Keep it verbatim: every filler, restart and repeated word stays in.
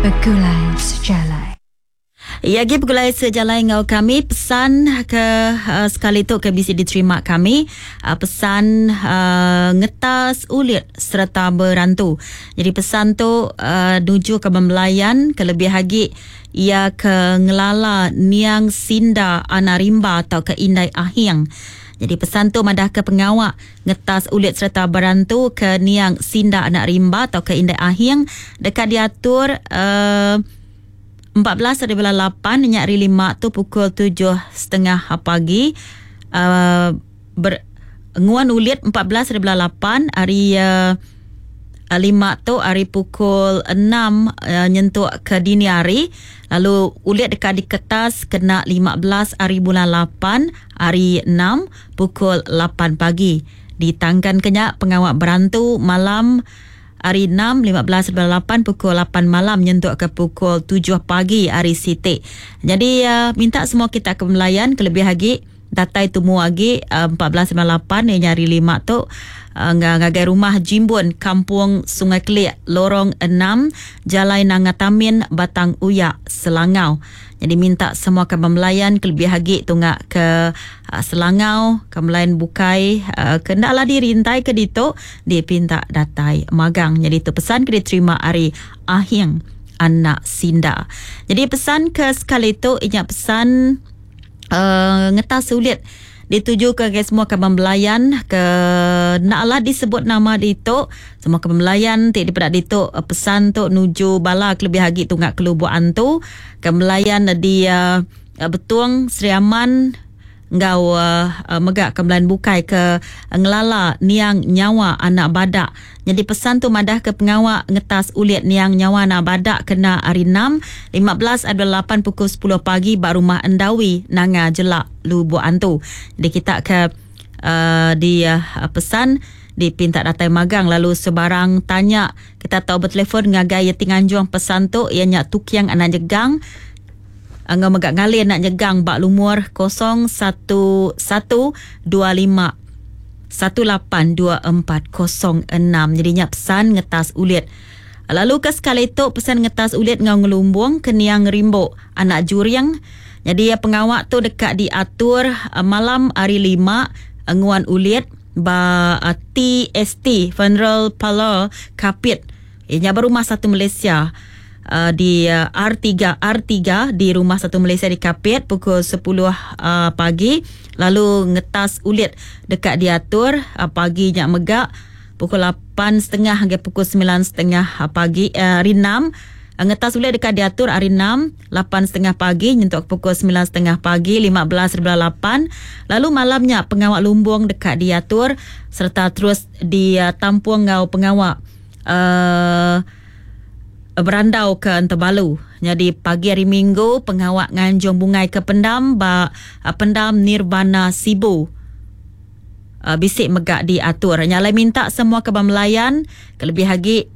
Begulai Sejalai. Ya, agi begulai sejalai enggau kami. Pesan ke uh, sekali tu ke bisi diterima kami, uh, pesan uh, ngetas ulit sereta berantu. Jadi pesan tu uh, nuju ke bemelayan, ke lebih agi ia ke ngelala Niang Sinda Anak Rimba atau ke Indai Ahiang. Jadi pesan tu madah ke pengawak ngetas ulit sereta berantu ke Niang Sinda Anak Rimba atau ke Indai Ahiang dekat diatur uh, empat belas hari bulan lapan nyak hari lima tu pukul tujuh tiga puluh pagi, uh, ber, nguan ulit empat belas hari bulan lapan hari uh, lima tu hari pukul enam uh, nyentuk ke dini hari, lalu ulit dekat di kertas kena lima belas hari bulan lapan hari enam pukul lapan pagi. Ditangkan kenyak pengawak berantu malam hari enam lima belas bulan lapan pukul lapan malam nyentuk ke pukul tujuh pagi hari Siti. Jadi uh, minta semua kita ke melayan, kelebih lagi datai tumu lagi uh, empat belas bulan lapan yang hari lima tu uh, ngagai rumah Jimbun, Kampung Sungai Kelik, Lorong enam, Jalai Nangatamin, Batang Uyak, Selangau. Jadi minta semua ke melayan, kelebih lagi tunggak ke uh, Selangau, ke melayan bukai uh, kendaklah dirintai ke dito dipinta datai magang. Jadi itu pesan ke diterima hari Ahing Anak Sinda. Jadi pesan ke sekali itu inya pesan uh, ngetas sulit dituju ke semua ke belayan ke naklah disebut nama dito. Semua ke belayan ti daripada dito, eh, pesan tu nuju bala kelebih lagi tunggak ke Lubuk Antu, ke melayan di uh, Betung, Sri Aman ngau uh, uh, megak ke belayan bukai ke ngelala Niang Nyawa Anak Badak. Jadi pesan tu madah ke pengawak ngetas ulit Niang Nyawa Anak Badak kena hari enam lima belas adalah lapan pukul sepuluh pagi ba rumah Endawi, Nanga Jelak, Lubuk Antu. Jadi kita ke uh, di uh, pesan dipinta datai magang, lalu sebarang tanya kita tahu bertelefon ngagai Yeti Nganjuang pesan tu, ianya Tukiang Anak Jegang Angga megak ngalin nak nyegang bak lumur kosong satu satu dua lima satu lapan dua empat kosong enam. Jadi nya pesan ngetas ulit. Lalu ke sekali tu pesan ngetas ulit ngau ngelumbung ke Niang Rimbo Anak Juriang. Jadi ya, pengawak tu dekat diatur uh, malam hari lima, uh, nguan ulit ba uh, T S T Funeral Parlour Kapit. Ianya berumah satu Malaysia uh, di uh, R tiga R tiga di Rumah Satu Malaysia di Kapit pukul sepuluh uh, pagi, lalu ngetas ulit dekat diatur uh, pagi nyak megak pukul lapan tiga puluh hingga pukul sembilan tiga puluh pagi uh, hari enam. Ngetas ulit dekat diatur hari enam lapan tiga puluh pagi nyentuk pukul sembilan tiga puluh pagi lima belas lapan. Lalu malamnya pengawak lumbung dekat diatur serta terus ditampung ngau pengawak uh, berandau ke Entebalu. Jadi pagi hari Minggu pengawak nganjung bungai ke pendam ba uh, pendam Nirvana Sibu. Uh, bisik megak diatur. Nyalai minta semua ke melayan kelebih lagi